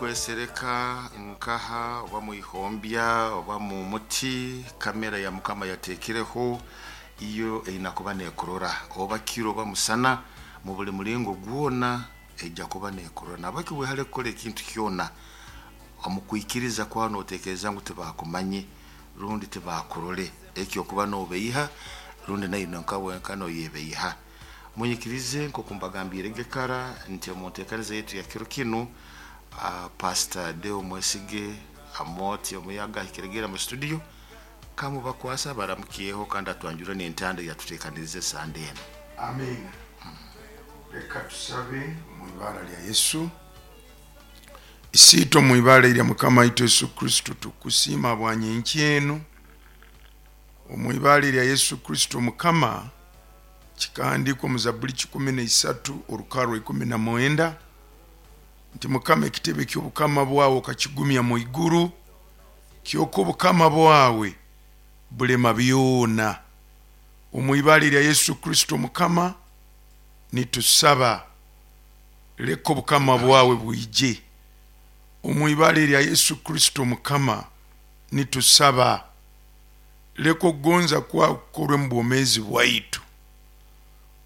Mukwesereka nkaha oba mwihombya oba mu muti, kamera ya Mukama yateekereho iyo eina kuba neekurora, oba kiro oba musana, mu buli mulingo gwona eija kuba neekurora. Nahabweki wehale kukora ekintu kyona omu kwikiriza kwawe nooteekereza ngu tibaakumanye rundi tibaakurole, eki okuba noobeiha rundi naiwe nka wenka nooyebeiha. Munyikirize nkooku mbagambiirege kara nti omu nteekaniza yaitu ya kiro kinu, Pastor Deo Mwesige Amooti Omuyaga ahikiregere mu studio, kamubakwasa abaramukyeho kandi atwanjurre n'entanda ei atuteekanirize Sande enu. Amiina. Leka tusabe omu ibara lya Yesu. Isiitwe omu ibara erya Mukama waitu Yesu Kristo, tukusiima habwa nyenkya enu. Omu ibara erya Yesu Kristo Mukama, kikahandiikwa omu Zabuli 13 orukarra rwa 19 nti Mukama ekitebe ky'obukama bwawe okakigumya mu iguru, kyonka obukama bwawe bulema byona. Omu ibara erya Yesu Kristo Mukama, nitusaba leka obukama bwawe bwije. Omu ibara erya Yesu Kristo Mukama, nitusaba leka okugonza kwawe kukorwe mu bwomeezi bwaitu.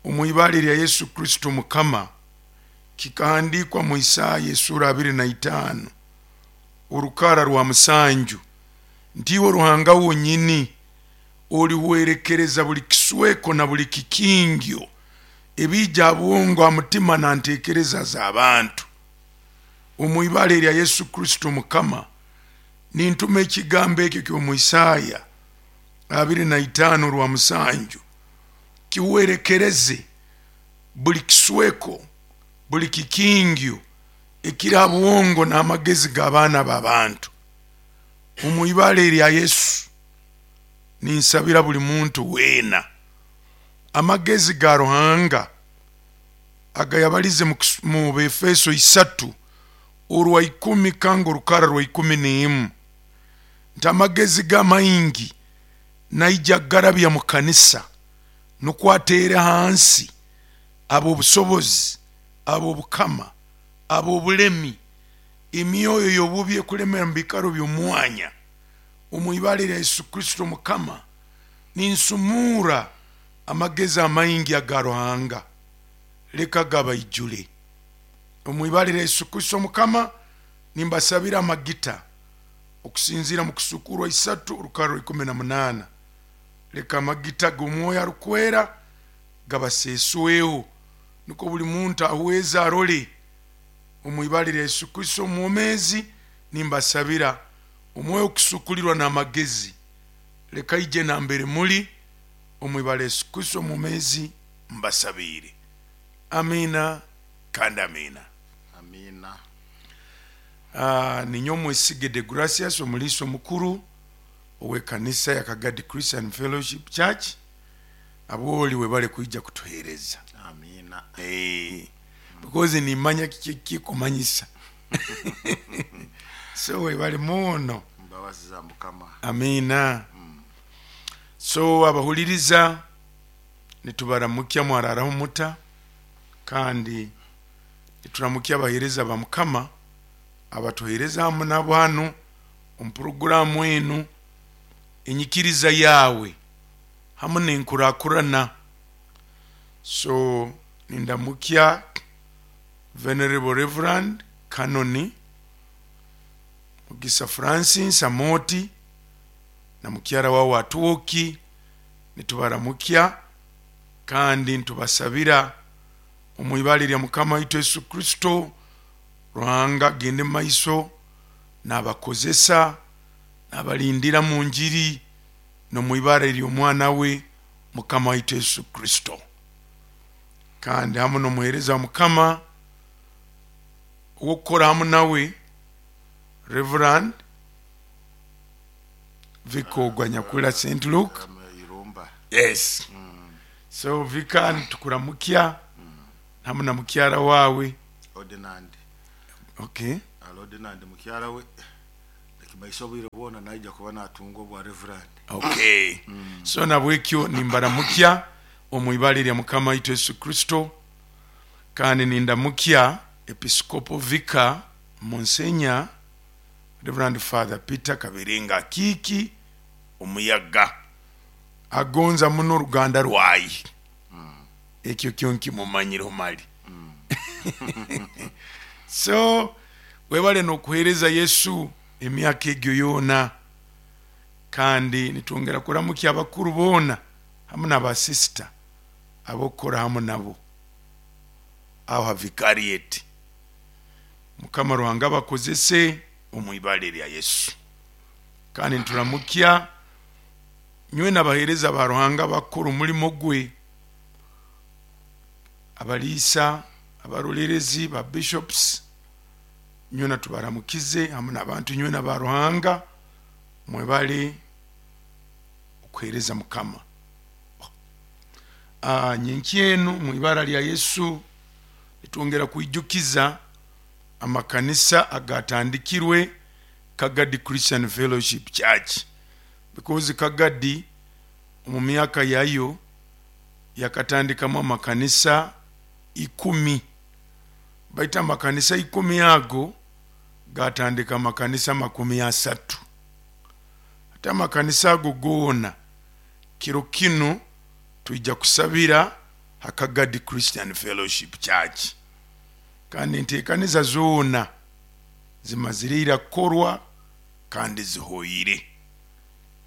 Omu ibara erya Yesu Kristo Mukama, kikahandiikwa mu Isaaya esuura 25 orukara rwa 7 nti iwe Ruhanga wonyini olihwerekereza buli kisweko na buli kikingyo ebiija ha bwongo, ha mutima na ntekereza z'abantu. Omu ibara erya Yesu Kristo Mukama, nintuma ekigambo ekyo ky'omu Isaaya 25 orwa 7 kihwerekereze buli kisweko, buli kikingyo ekiri ha bwongo n'amagezi g'abaana b'abantu. Omu ibara erya Yesu, ninsabira buli muntu weena amagezi ga Ruhanga agayabalize mu Befeso 3 orwa 10 kanga orukara rwa 11 nti amagezi g'amaingi naija kugarabya mu kanisa nukwo ateere hansi ab'obusobozi, ab'obukama, ab'obulemi, emyoyo y'obubi ekulemera mu biikaro by'omwanya. Omu ibara erya Yesu Kristo Mukama, ninsumuura amagezi amaingi aga Ruhanga, leka gabaijule. Omu ibara erya Yesu Kristo Mukama, nimbasabira amagita okusinziira mu Kusuukurwa 3 orukara rwa 18. Leka amagita g'Omwoyo Arukwera gabaseesweho, nukwo buli muntu ahweze arole. Omu ibara erya Yesu Kristo omwomeezi, nimbasabira Omwoyo okusuukulirwa n'amagezi, leka aije nambere muli. Omu ibara Yesu Kristo omwomeezi mbasabiire. Amiina kandi amiina. Amiina. Ninyowe Mwesige Degracius, omuliisa omukuru ow'ekanisa ya Kagadi Christian Fellowship Church. Abwoli webale kwija kutuheereza. Amiina. Because nimanya kiki ekikumanyisa. So webale muno. Mbabazi za Mukama. Amiina. So abahuliriza nitubaramukya mwararaho muta, kandi nituramukya abaheereza ba Mukama abatuheereza hamu nabo hanu omu puroguraamu enu Enyikiriza Yaawe hamu n'Enkurakurana. So nindamukya Venerable Reverand Canon Mugisa Francis Amooti na mukyara wawe Atwoki, nitubaramukya kandi nitubasabira omu ibara erya Mukama waitu Yesu Kristo, Ruhanga agende omu maiso nabakozesa, nabalindira mu njiri n'omu ibara ery'Omwana we Mukama waitu Yesu Kristo. Kandi hamu n'omuheereza wa Mukama ow'okukora hamu nawe, Reverand Vicar ogwo anyakuhurra St. Luke. Irumba. Yes. So Vicar nitukuramukya hamu na mukyara wawe. Ordinand. Okay. Ali Ordinand mukyara we. Ekimaisa obwire bwona naija kuba natunga obwa Reverand. Okay. So nabwekyo nimbaramukya omu ibara erya Mukama waitu Yesu Kristo, kandi nindamukya Episcopal Vicar. Monsignor Reverend Father Peter Kaberenga Akiiki Omuyaga agonza muno oruganda rwaye. Ekyo kyo nkimumanyireho mali. So webale n'okuheereza Yesu emyaka egyo yoona. Kandi nitwongera kuramukya abakuru boona hamu n'abasisita ab'okukora hamu nabo aho ha vicariate. Mukama Ruhanga abakozese omu ibara erya Yesu. Kandi nituramukya nywena abaheereza ba Ruhanga abakukora omulimo gwe, abaliisa, abarolerezi, ba bishops, nywena tubaramukize hamu n'abantu nywena ba Ruhanga, mwebale okuheereza Mukama. Nyenkya enu mu ibara lya Yesu nitwongera kwijukiza amakanisa agatandikirwe Kagadi Christian Fellowship Church, because Kagadi omu myaka yayo yakatandikamu amakanisa 10, baitu amakanisa 10 ago gatandika amakanisa 30. Ate amakanisa ago goona kiro kinu twija kusabira ha Kagadi Christian Fellowship Church, kandi enteekaniza zoona zimazire ira kukorwa kandi zihoire,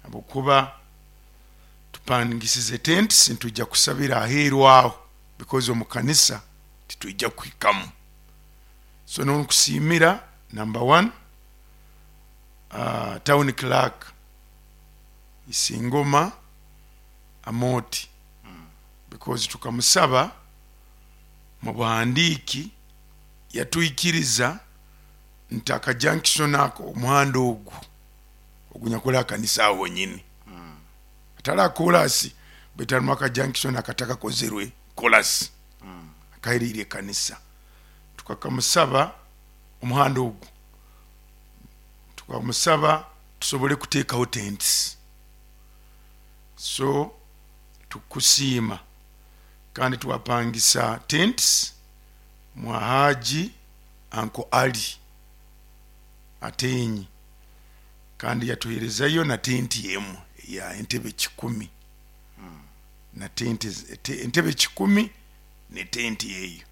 habwokuba tupangisize tents, nitwija kusabira aheeru aho because omu kanisa titwija kuhikamu. So nonkusiimira number 1 town clerk Isingoma Amoti, because tukamusaba mu buhandiiki yatwikiriza nti aka junction ako omuhanda ogu ogunyakuli akanisa aho honyini, atali akolasi baitu harimu aka junction akatakakozerwe kolasi akaheriire ekanisa. Tukakamusaba omuhanda ogu, tukamusaba tusobole kuteekaho tents. So tukusiima, kandi twapangisa tents mwa Haji Anko Ali Atenyi, kandi yatuherezayo na tenti emu ya entebe 100, na tenti entebe 100 ne tenti eyo.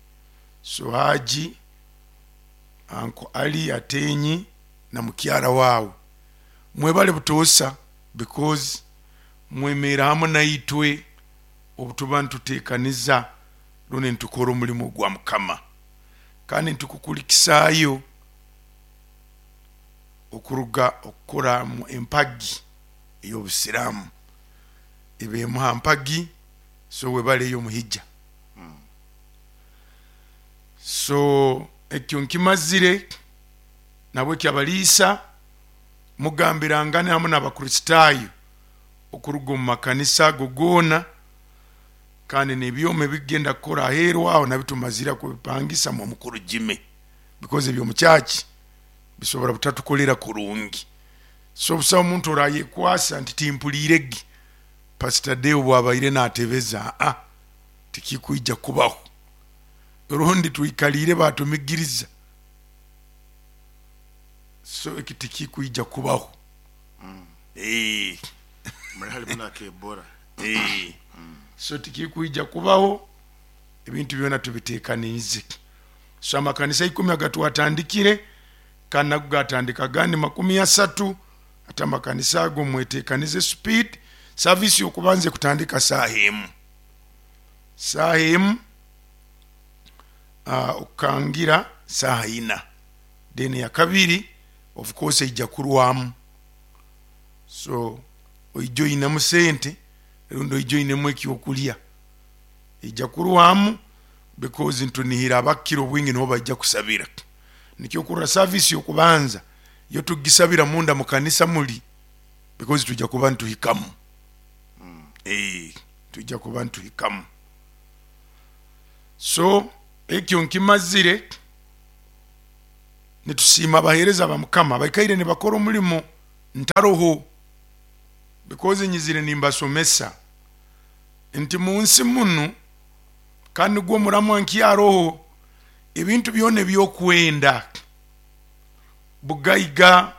So Haji Anko Ali Atenyi na mukyara wawe mwebale butoosa, because mwemeera hamu naitwe obutuba nituteekaniza rundi nitukora omulimo gwa Mukama. Kandi nitukukulikisaayo okuruga okukora mu empagi ey'obusiraamu eba emu ha mpagi, so webaleyo omuhija. So ekyo nkimazire, nabweki abaliisa mugambirangane hamu n'Abakristaayo okuruga omu makanisa ago goona, kandi n'ebyoma ebigenda kukora aheeru aho nabyo tumazire kubipangisa mu omukuru Jimmy, because eby'omu church bisobora butatukolera kurungi. So busaho omuntu orayekwasa nti timpuliirege Pastor Deo bwabaire natebeza, aa tikikwija kubaho. Rundi twikaliire batumigiriza, so eki tikikwija kubaho. Mali halimu n'akebora. So tikikwija kubaho, ebintu byona tubitekaniize. So amakanisa 10 agatwatandikire, kandi nago gatandika agandi 30. Ate amakanisa ago mwetekanize speed. Service yokubanza ekutandika saaha emu, saaha emu okukangira saaha ina, then ya kabiri of course eija kurwamu. So oija oinemu sente rundi oija oinemu ekyokulya, eija kurwamu because ntunihira abakukira obwingi nibo baija kusabira. Nikyo okurora service yokubanza yo tugisabira munda mu kanisa muli, because twija kuba nituhikamu. Twija kuba nituhikamu. So ekyo nkimazire, nitusiima abaheereza ba Mukama baikaire nibakora omulimo ntaroho, because nyizire nimbasomesa nti munsi munu, kandi nigwo omuramwa nkyaroho, ebintu byona ebyokwenda. Bugaiga,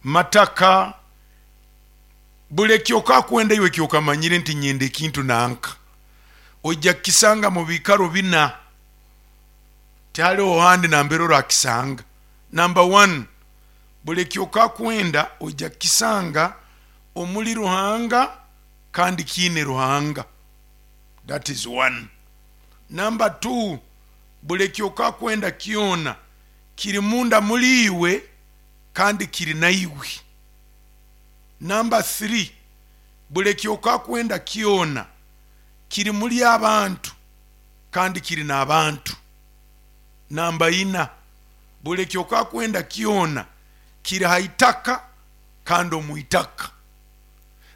mataka, buli ekyokakwenda iwe ekyokamanyire nti nyenda ekintu nanka, ojja kukisanga mu biikaro bina, tihaliho handi nambere orakisanga. Namba 1, buli ekyokakwenda ojja kukisanga omuli Ruhanga kandi kiine Ruhanga. That is 1. Namba 2, buli ekyokakwenda kyona kiri munda muli iwe kandi kiri naiwe. Namba 3, buli ekyokakwenda kyona kiri muli abantu kandi kiri n'abantu. Namba 4, buli ekyokakwenda kyona kiri ha itaka kandi omu itaka.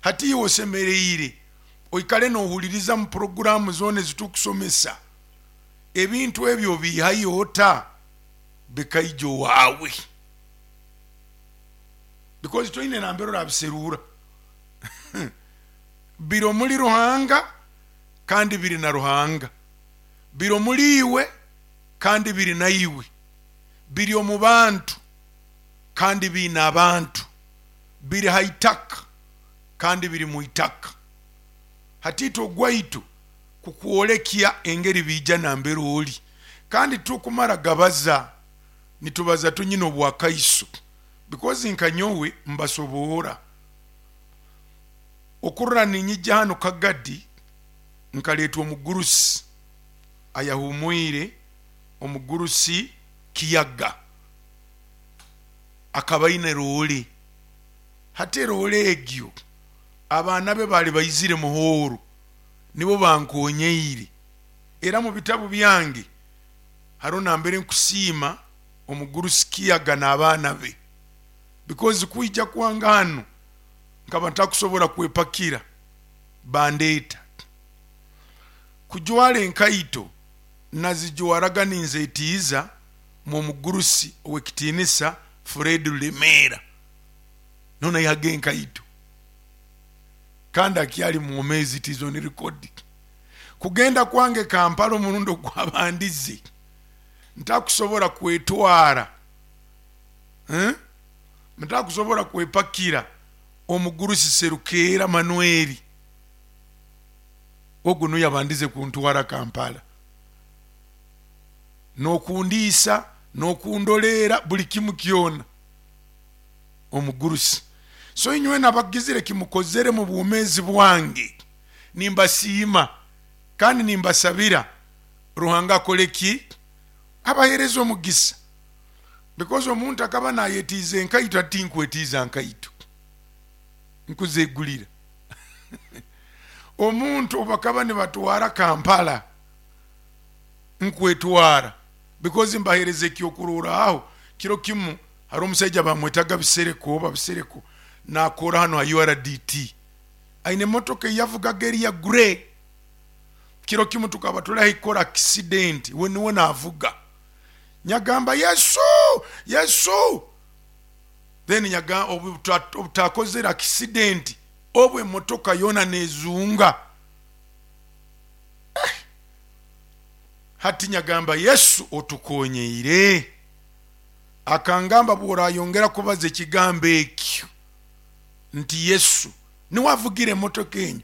Hati iwe osemereire oikale nohuliriza mu puroguramu zoona ezitukusomesa, ebintu ebyo obiihayo ota bikaija owaawe, because toine nambere orabiserura. Biri omuli Ruhanga kandi biri na Ruhanga, biri omuli iwe kandi biri naiwe, biri omu bantu kandi biine abantu, biri ha itaka kandi biri mu itaka. Hati itwe ogwaitu kukwolekya engeri biija nambere oli, kandi tukumara gabaza, nitubaza tunyine obwakaiso, because nka nyowe mbasoboora okurora ninyija hano Kagadi, nkaleetwa omugurusi ayahumwire, omugurusi Kiyaga, akaba aine roole. Hati eroole egyo abaana be baali baizire muhooro, nibo bankonyeire. Era mu bitabu byange hariho nambere nkusiima omugurusi Kiyaga n'abaana be, because kwija kwange hano nkaba ntakusobora kwepakira, bandeeta. Kujwara enkaito nazijwaraga ninzetiiza mu mugurusi ow'ekitiinisa Fred Rulemera, none yahaga enkaito kandi akyali mwomeezi, it is on record. Kugenda kwange Kampala omurundi ogwabandize ntakusobora kwetwara, ntakusobora kwepakira omugurusi Serukeera Manueli, ogu nuwe yabandize kuntwara Kampala, n'okundiisa n'okundoleera buli kimu kyona omugurusi. So inywe nabagizire kimukozere mu bwomeezi bwange, nimbasiima kandi nimbasabira Ruhanga akole ki, abahereza omugisa, because omuntu akaba nayetiiza enkaito, ati nkwetiiza nkaito nkuzegulira. Omuntu obakaba nibatwara Kampala nkwetwara, because mbahereza ekyokuroraaho. Kiro kimu hari omusaija bamwetaga Bisereko, oba Bisereko, nakora hano ha URDT, aine emotoka eyavugaga eri ya grey. Kiro kimu tukaba tuli ahikora accident, we niwe navuga, nyagamba Yesu Yesu, then nyaga obutakozere accident, obu emotoka yona nezunga. Hati nyagamba Yesu otukonyeire. Akangamba bworayongera kubaza ekigambo ekyo nti Yesu niwe avugira emotoka enyo,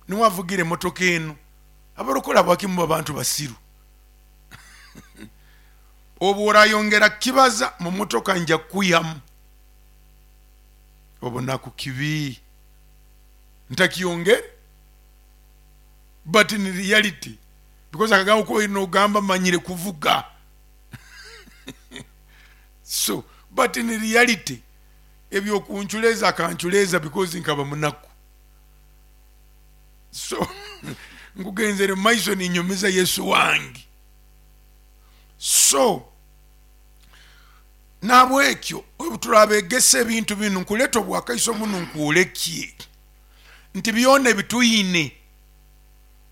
niwe avugira emotoka eno, abarokole abakimu babantu basiru. Obu orayongera kibaza mu motoka nja kukwihamu. Obunaku kibi ntakiyongere, but in reality, because akagamba ko nogamba manyire kuvuga. So but in reality ebyokunchuleza akanchuleza because nkaba munaku. So nkugenzere maiso ninyumiza Yesu wange. So nabwekyo obu turabegesa ebintu binu, nkuleta obwakaiso bunu nkwolekye nti byona ebituyine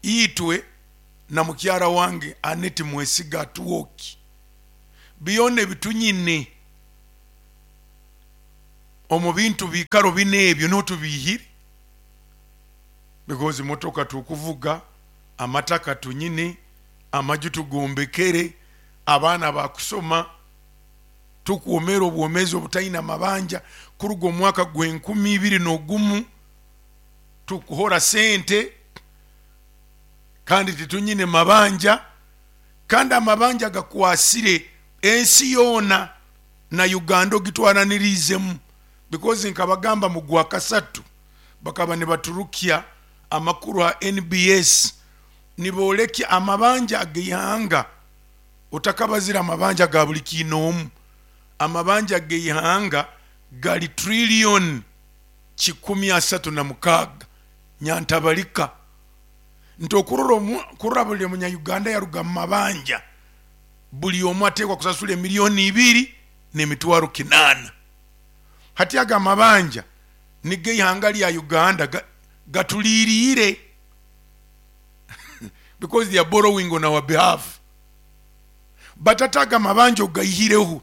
itwe na mukyara wange Aneti Mwesiga Atwoki, byona ebitunyine omu bintu bikaro bine ebyo niho tubihire, because motoka tukuvuga, amataka tunyine, amaju tugombekere, abaana bakusoma. Tukwomera obwomezi obutaina mabanja kuruga omwaka gw'enkumi ibiri n'ogumu. Tukuhora sente kandi titunyine mabanja, kandi amabanja gakwasire ensi yoona na Uganda ogitwaraniriizemu, because nkabagamba mu gwa kasatu bakaba nibaturukya amakuru ha NBS nibolekya amabanja ag'eihanga. Otakabazire amabanja ga buli kiinoomu, amabanja g'eihanga gali trillion 136 nyantabalika. Nti okurora kurora buli munya-Uganda yaruga mu mabanja, buli omu ateekwa kusasula emiliyoni ibiri n'emitwaro 800. Hati aga amabanja nigo eihanga lya Uganda gatuliriire because they are borrowing on our behalf. But ate aga amabanja ogaihireho,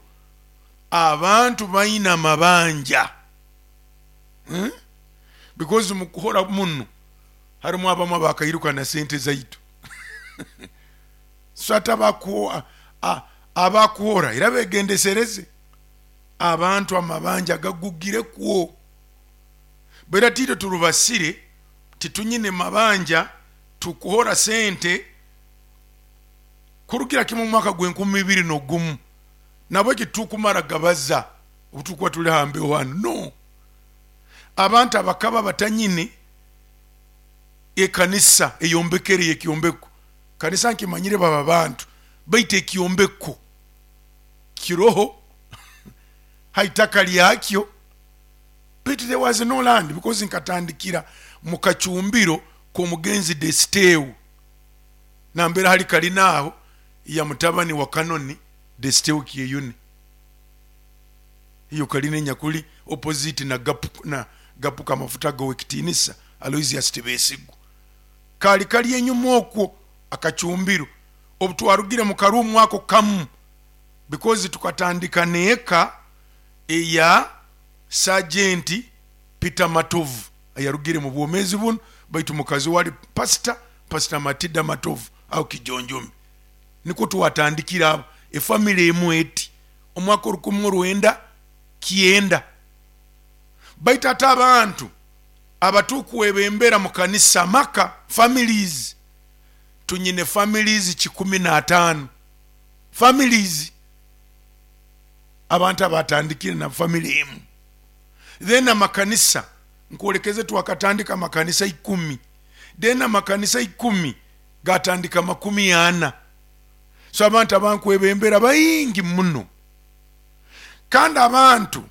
abantu baina amabanja, Because mukuhora muno harimu abamu abakairuka na sente zaitu. So ate abakuhora era begendesereze, abantu amabanja gagugirekwo. Bera titwe turubasire, titunyine mabanja, tukuhora sente kurugira kimu omwaka gw'enkumi ibiri n'ogumu. Nabweki tukumara gabaza obutukuba tuli hambeho hanu. No, abantu abakaba batanyine ekanisa eyombekere y'ekyombeko, kanisa nkimanyire baba bantu, baitu ekyombeko kiroho haitaka lyakyo, baitu there was no land, because nkatandikira mu kacumbiro k'omugenzi Desiteu, nambere hali kalina aho ya mutabani wa Kanoni Desiteu Kyeyune. Iyo kalina enyakuli opposite na gapu, na gapuka amafuta g'owekitinisa Aloysius Tibesigwa, kali kali enyuma okwo akacumbiro. Obutwarugire mu karumu ako kamu, because tukatandika n'eka eya Sergeant Peter Matovu ayarugire mu bwomezi bunu, baitu mukazi wali pastor Matida Matovu aho Kijonjomi, nikwo twatandikira abo efamily emu eti omwaka 1990. Baitu ate abantu abatukwebembera mu kanisa, maka, families, tunyine families 105 families, abantu abatandikire na family emu. Then amakanisa nkwolekeze, twakatandika amakanisa 10, then amakanisa 10 gatandika 40. So abantu abankwebembera baingi muno, kandi abantu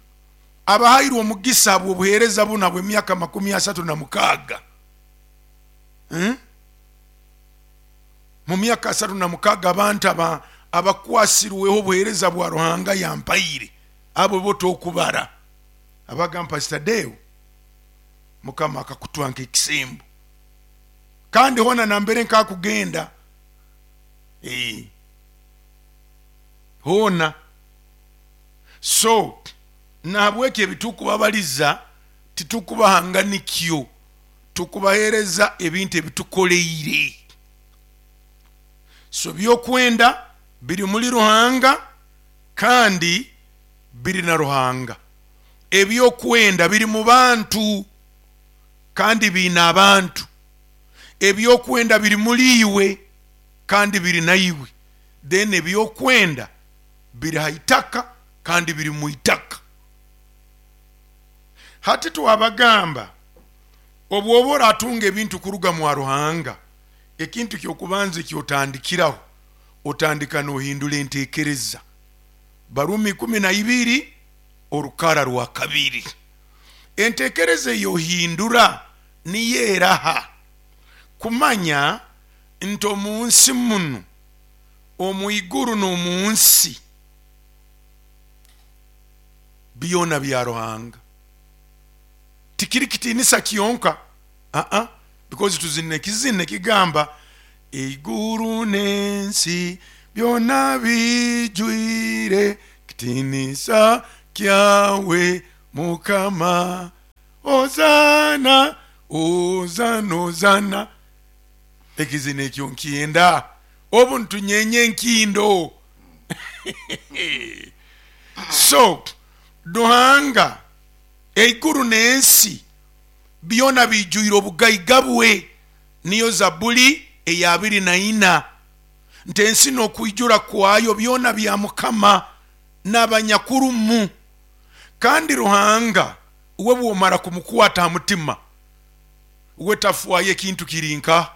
abahairwe omugisa bw'obuheereza buno bw'emyaka 36. Mu myaka 36 abantu abakwasirweho obuheereza bwa Ruhanga yampaire, abo bo tokubara. Abagamba, Pastor Deo, Mukama akakutwa nk'ekisembo, kandi hona nambere nkakugenda, hona. So nahabweki ebitukubabaliza titukubahanganikyo, tukubahereza ebintu ebitukoleire. So byokwenda biri muri Ruhanga kandi biri na Ruhanga. Ebyokwenda biri mu bantu kandi biina abantu. Ebyokwenda biri muri iwe kandi biri naiwe. Then ebyokwenda biri haitaka kandi biri mu itaka. Hati twabagamba obwoba oratunga ebintu kuruga mwa Ruhanga, ekintu kyokubanza ekyotandikiraho, otandika nohindura entekereza. Barumi 12 orukara rwa 2. Entekereza eyohindura niyo eraha kumanya nti omunsi muno, omu iguru n'omunsi, byona bya Ruhanga. Tikiri kitinisa kyonka, because tuzina ekizina ekigamba iguru n'ensi byona bijwire kitinisa kyawe Mukama, ozana ozana ozana. Ekizina ekyo nkyenda, obu ntunyenye enkindo. So Ruhanga, eiguru n'ensi byona biijwire obugaiga bwe. Niyo Zabuli eya 24, nti ensi n'okwijura kwayo byona bya Mukama n'abanyakurumu. Kandi Ruhanga we bwomara kumukwata ha mutima, we tafwayo ekintu kiri nka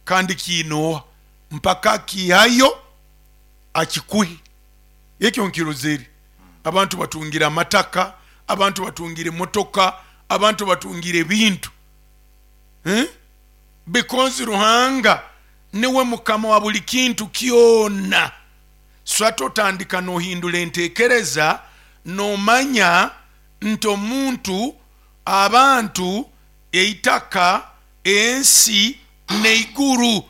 kandi kiinooha mpaka akiihayo akikuhe. Ekyo nkirozere. Abantu batungire amataka, abantu batungire emotoka, abantu batungire ebintu. Because Ruhanga niwe Mukama wa buli kintu kyona. So hati otandika nohindura entekereza, nomanya nti omuntu, abantu, eitaka, ensi n'eiguru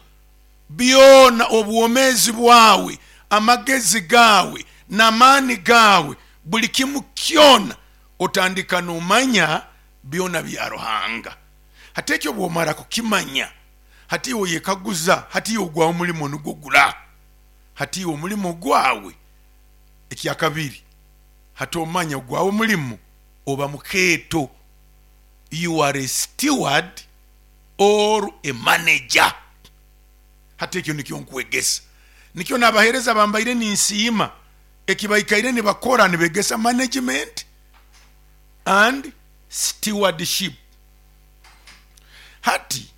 byona, obwomezi bwawe, amagezi gawe n'amaani gawe, buli kimu kyona otandika nomanya byona bya Ruhanga. Hati ekyo bwomara kukimanya, hati iwe oyekaguza, hati iwe ogwawe omulimo nugwo gura? Hati iwe omulimo gwawe, ekyakabiri, hati omanya ogwawe omulimo oba mukeeto. You are a steward or a manager. Hati ekyo nikyo nkwegesa. Nikyo n'abaheereza bambaire ninsiima ekibaikaire nibakora, nibegesa management and stewardship. Hati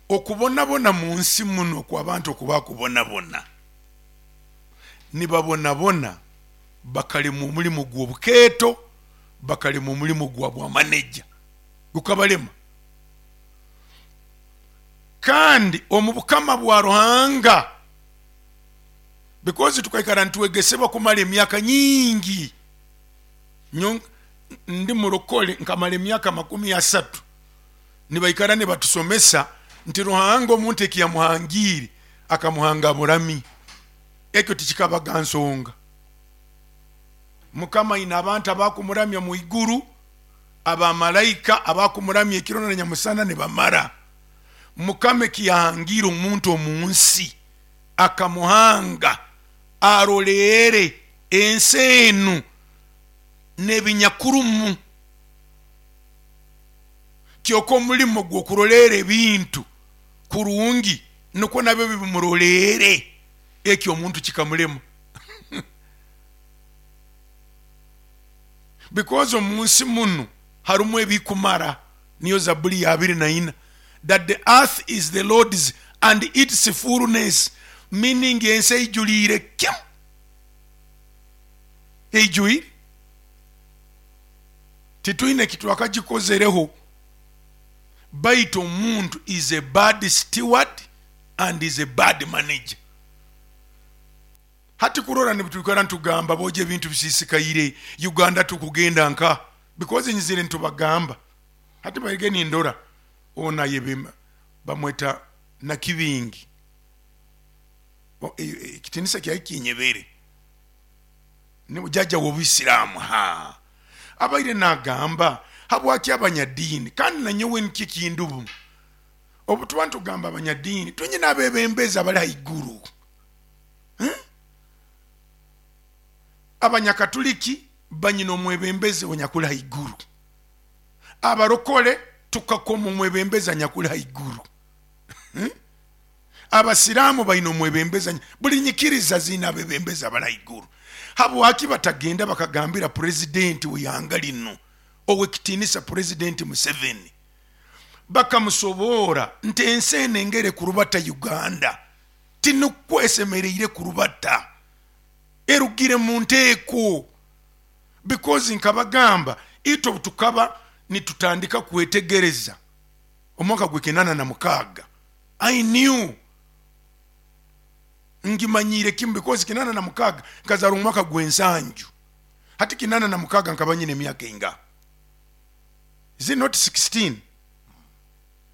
okubonabona mu nsi muno kw'abantu okubakubonabona, nibabonabona bakalema omulimo gw'obukeeto, bakalema omulimo gwa bwa manager, gukabalema. Kandi omu bukama bwa Ruhanga, because tukaikara nitwegesebwa kumara emyaka nyingi. Ndi murokole nkamara emyaka 30 nibaikara nibatusomesa nti Ruhanga omuntu ekiyamuhangiire akamuhanga burami. Ekyo tikikabaga nsonga. Mukama aine abantu abakumuramya mu iguru, abamalaika abakumuramya ekiro na nyamusana nibamara. Mukama ekiyahangiire omuntu omu nsi akamuhanga aroleere ensi enu n'ebinyakurumu. Kyokka omulimo gw'okuroleera ebintu kurungi nukwo nabyo bimuroleere, ekyo omuntu kikamulema. Because omu nsi munu harumu ebikumara. Niyo Zabuli ya 24, that the earth is the Lord's and its fullness, meaning ensi eijuliire kimu, eijuire, titwine kitwakagikozereho. Baitu omuntu is a bad steward and is a bad manager. Hati kurora nibitwikara ntugamba boja ebintu bisisikaire Uganda tukugenda nka, because nyizire ntubagamba. Hati baige nindora ona yebema bamweta Nakibingi, ekitinisa kyai kinyebere ni jaja w'obuyisiraamu. Ha abaire nagamba habwaki abanyadiini, kandi nanyowe nikyo kindubu obu tuba ntugamba abanyadiini tunyina abebembezi abali haiguru. Abanyakatuliki banyina omwebembezi onyakuli haiguru, abarokole tukakoma omwebembezi anyakuli haiguru, abasiraamu baina omwebembezi, buli nyikiriza ziina abebembezi abali haiguru. Habwaki batagenda bakagambira purezidenti w'ihanga lino ow'ekitinisa Purezidenti Museveni, bakamusoboora nti ensi eno engere kurubata Uganda tinukwo esemereire kurubata, erugire mu nteeko. Because nkabagamba itwe obu tukaba nitutandika kwetegereza omwaka gw'ekinana na mukaaga, I knew ngimanyiire kimu, because 86 nkazarwa omwaka gw'ensanju. Hati 86 nkaba nyine emyaka eingaha? Is it not 16?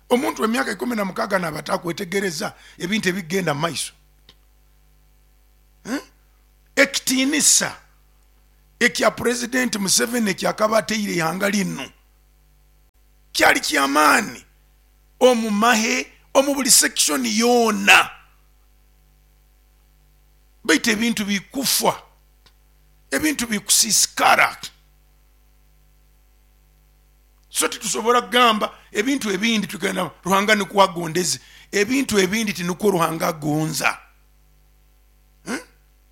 Omuntu w'emyaka 16 naaba atakwetegereza ebintu ebigenda mu maiso. Ekitiinisa ekya Purezidenti Museveni ekyakaba ateire ihanga linu kyali ky'amaani omu mahe, omu buli section yoona. Baitu ebintu bikufa. Ebintu bikusiisikara. So titusobora kugamba ebintu ebindi tugenda Ruhanga nikwo agondeze. Ebintu ebindi tinukwo Ruhanga agonza.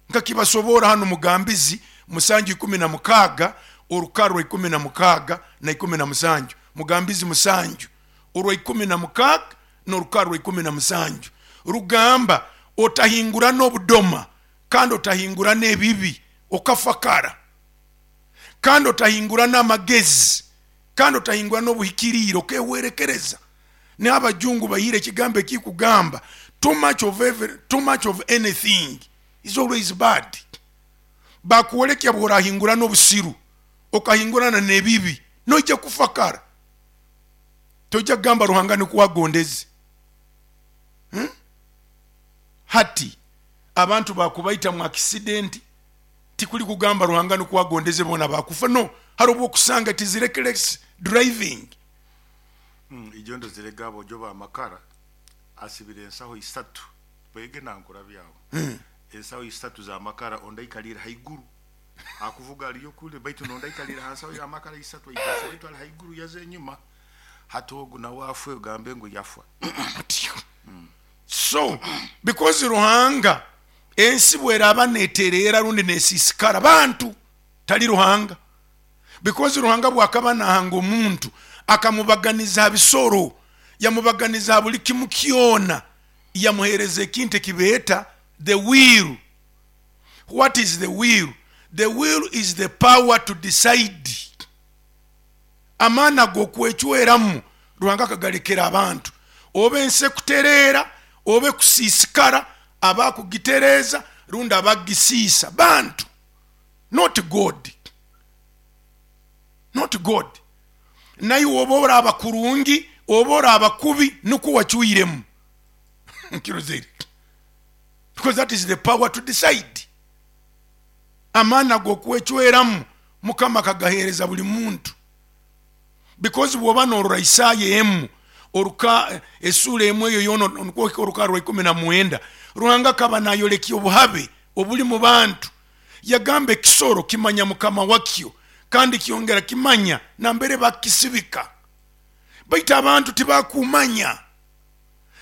Nkakibasobora hanu Mugambizi 7:16, orukara rwa 16 na 17. Mugambizi 7 orwa 16 n'orukara rwa 17 rugamba, otahingura n'obudoma, kandi otahingura n'ebibi, okafakara, kandi otahingura n'amagezi, kandi otahingura n'obuhikiriire, okehwerekereza. N'abajungu bahire ekigambo ekikugamba too much of every, too much of anything is always bad. Bakwolekya bw'orahingura n'obusiru, okahingurana n'ebibi, noija kufakara. Toija kugamba Ruhanga nikwo agondeze. Hati abantu bakubaita mu accident, tikuli kugamba Ruhanga nikwo agondeze bona bakufa. No, hari obwokusanga it is reckless driving. Ijo ndozirega abojo b'amakara asibire ensaho 3 bwege nankura byawo. Ensaho 3 z'amakara, ondi aikalire haiguru akuvuga aliyo kule, baitu nondi aikalire ha nsaho y'amakara 3 aikase, baitu ali haiguru yaza enyuma. Hati ogu nawe afwe ogambe ngu yafwa. So because Ruhanga ensi bweraba neterera rundi nesisikara bantu, tali Ruhanga. Because Ruhanga bwakaba nahanga omuntu akamubaganiza bisoro, yamubaganiza buli kimu kyona, yamuhereza ekintu ekibeta the will. What is the will? The will is the power to decide. Amaani ag'okwecweramu Ruhanga akagalekera abantu. Oba ensi ekutereera, oba ekusiisikara, abakugitereeza rundi abagisiisa bantu, not God. Not God. Naye oba oraba kurungi, oba oraba kubi, nukwo wacwiremu. Nkirozere. Because that is the power to decide. Amaani ag'okwecweramu Mukama akagaheereza buli muntu. Because bw'oba norora Isaya emu, oruka esura emu eyo yoona nukwo oruka rwa 19, Ruhanga akaba nayolekya obuhabe obuli mu bantu. Yagamba ekisoro kimanya mukama wakyo, kandi kyongera kimanya nambere bakisibika. Baitu abantu tibakumanya.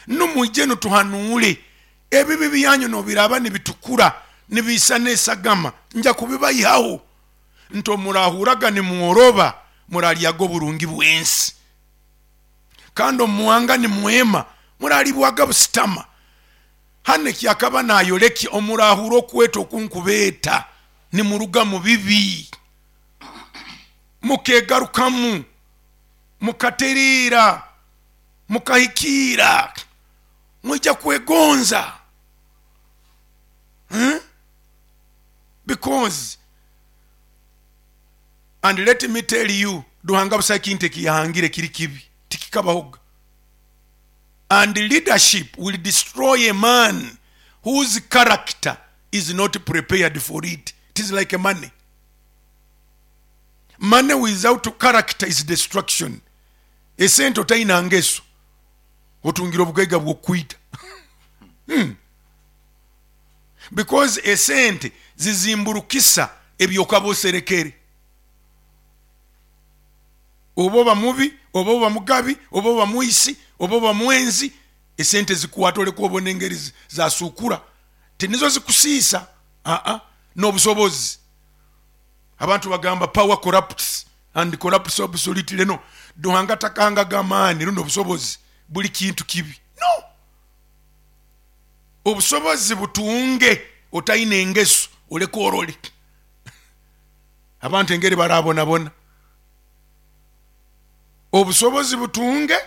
Numwije nutuhanuule ebibi byanyu nobiraba nibitukura nibiisa n'esagama, nja kubibayihaho. Nto murahuraga nimworoba, muralyaga oburungi bw'ensi. Kandi omuwanga nimwema, muralibwaga busitama. Hano ekyakaba nayolekya omurahura okweta okunkubeeta nimuruga mu bibi, mukegarukamu, mukatereera, mukahikiira, mwija kwegonza. Because, and let me tell you, Ruhanga busa ekintu ekiyahangire kiri kibi, tikikabahoga. And leadership will destroy a man whose character is not prepared for it. It is like money. Money without character is destruction. Esente otaina ngeso, otungira obugaiga bw'okwita. Because esente zizimburukisa ebyokaba oserekere. Oba oba mubi, oba oba mugabi, oba oba mwisi, oba oba mwenzi, esente zikukwata oleka obona engeri zasukura. Tinizo zikusiisa, n'obusobozi. Abantu bagamba power corrupts and corrupts absolutely. No. Ruhanga takanga gamaani rundi obusobozi buli kintu kibi. No. Obusobozi butunge otaine engeso oleka orole. Abantu engeri barabonabona. Obusobozi butunge,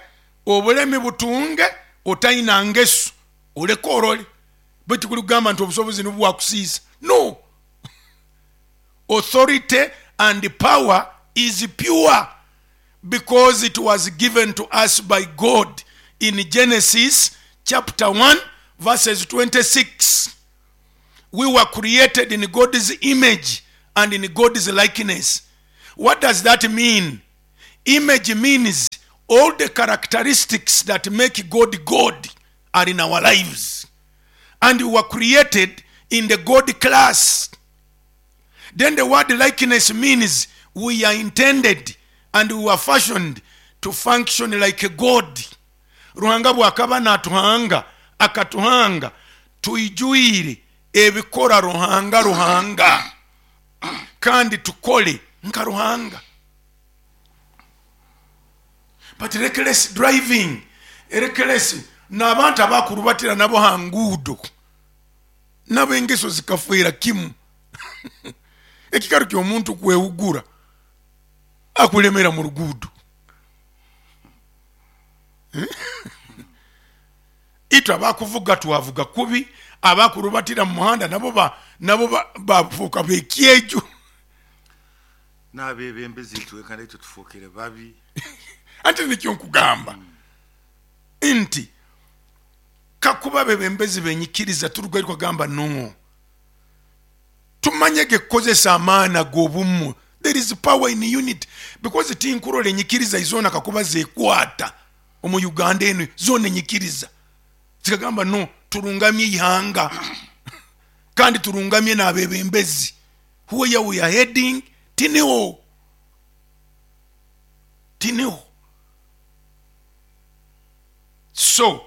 obulemi butunge, otaina ngeso oleka orole. Baitu kuli kugamba nti obusobozi nibwakusiisa. No. Authority and power is pure because it was given to us by God in Genesis chapter 1 verses 26. We were created in God's image and in God's likeness. What does that mean? Image means all the characteristics that make God God are in our lives. And we were created in the God class. Then the word likeness means we are intended and we were fashioned to function like God. Ruhanga bwakaba natuhanga, akatuhanga tuijuire ebikora Ruhanga Ruhanga, kandi tukole nka Ruhanga. But reckless driving, reckless, n'abantu abakurubatira nabo ha nguudo nabo engeso zikafeera kimu. Ekikaro ky'omuntu kwehugura akulemera mu ruguudo. Itwe abakuvuga twavuga kubi, abakurubatira mu muhanda nabo bafuuka bekyeju. N'abebembezi itwe kandi itwe tufuukire babi. Anti nikyo nkugamba nti kakuba abebembezi benyikiriza turugayo kugamba no, tumanyege kukozesa amaani ag'obumu. There is power in unity, because tinkurora enyikiriza izona kakuba zekwata omu Uganda eno, zona enyikiriza zikagamba no, turungamye ihanga kandi turungamye n'abebembezi. Where we are heading tiniho, tiniho. So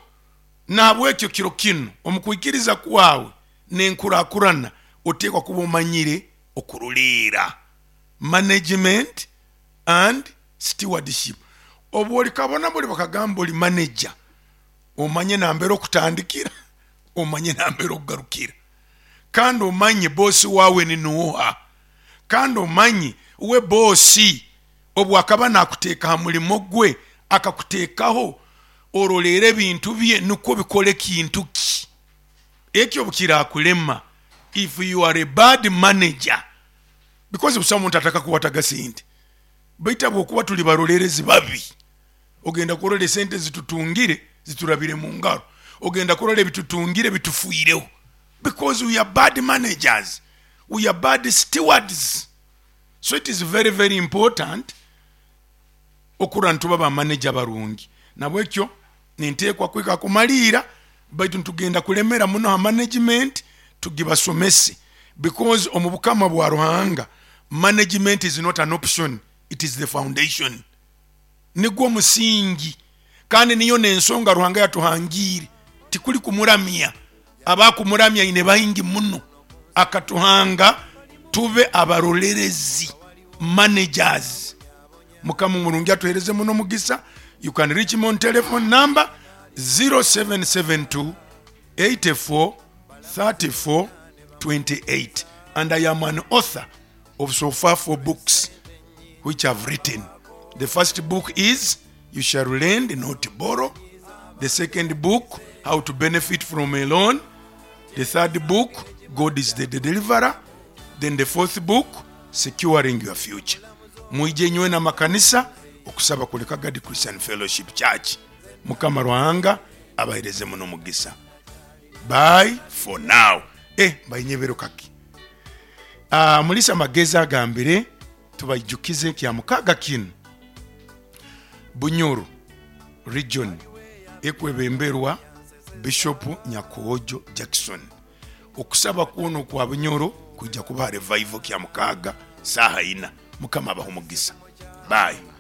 nahabwekyo kiro kinu omu kwikiriza kwawe n'enkurakurana oteekwa kuba omanyire okuruliira management and stewardship. Obu olikabona buli bakagamba oli manager, omanye nambere okutandikira, omanye nambere okugarukira, kandi omanye bosi wawe ni nuha, kandi omanye we bosi obu akaba nakuteeka ha mulimo gwe akakuteekaho orolere ebintu bye nukwo bikole kintu ki. Ekyo bukirakulema if you are a bad manager, because busaho omuntu atakakuwataga sente, baitu habwokuba tuli barolerezi babi, ogenda kurora esente zitutungire ziturabire mu ngaro, ogenda kurora ebitutungire bitufuireho, because we are bad managers, we are bad stewards. So it is very very important okurora nituba ba manager barungi. Nabwekyo ninteekwa kwika kumaliira, baitu ntugenda kulemera muno ha management, tugibasomese, because omu bukama bwa Ruhanga management is not an option, it is the foundation. Nigwo musingi, kandi niyo n'ensonga Ruhanga yatuhangiire. Tikuli kumuramya, abakumuramya ine baingi muno, akatuhanga tube abarolerezi, managers. Mukama omurungi atuhereze muno mugisa. You can reach me on telephone number 0772 84 34 28, and I am an author of so far 4 books which I've written. The first book is You Shall Lend, Not Borrow. The second book, How to Benefit from a Loan. The third book, God is the Deliverer. Then the fourth book, Securing Your Future. Mwije nywe na makanisa okusaba kuli Kagadi Christian Fellowship Church. Mukama Ruhanga abahereze muno mugisa. Bye for now. Mbayinyebero kaki. Mulisa Magezi agambire tubaijukize kya mukaga kinu. Bunyoro region ekwebemberwa Bishop Nyakojo Jackson. Okusaba kwona okwa Bunyoro kwija kuba revival kya mukaga saha ina. Mukama abahe omugisa. Bye.